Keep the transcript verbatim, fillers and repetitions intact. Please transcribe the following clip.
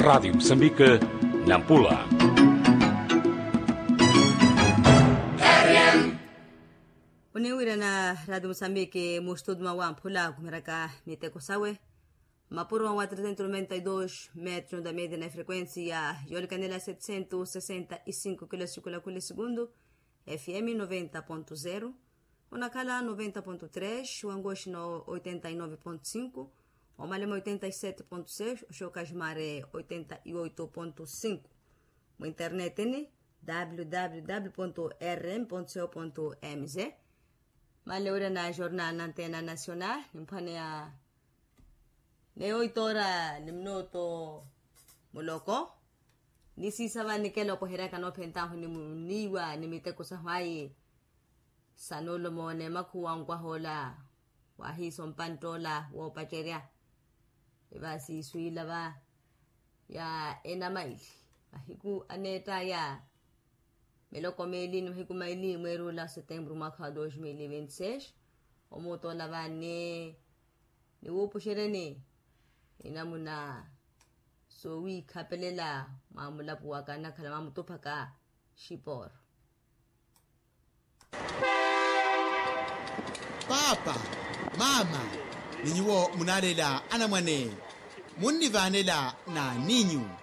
Radiyo musambike, nampula. Oniwirana radiyo musambike mustuduma wa mpula kumiraka miteko sawe. Mapuro wa trezentos noventa y dos metros da media na frequencia yolikanela setecientos sesenta y cinco kilos kulakulesegundu. Fm noventa ponto zero, onakhala noventa ponto tres, wangoxino oitenta y nove ponto cinco, omalema oitenta y sete ponto seis, oxokaximare oitenta y oito ponto cinco. Muinternetini, www rm co mz. Maleura na jornal na antena nacional nimphwaneya. Neyo oitora ni mnoto muloko. Nisiisa vani keloko heryaka noophentahu ni muniiwa ni miteko sahu ayi. Sanulo moone makhuwa nkwaha ola wahiisa ompantta ola woopacerya. Eva siiswiila va ya enamaili mahiku aneettaya. Miloko miili ni mahiku maili mweeri ula setembro mwakha wa dos mil e vinte seis. Omuutola vani niwuupuxeryeni enamuna soowiikhapelela mwa mulapu waka nnakhala mwamutuphaka. Xiporo. Paapa, maama, ni nyuwo munaaleela anamwane, munnivaanela n'aninyu.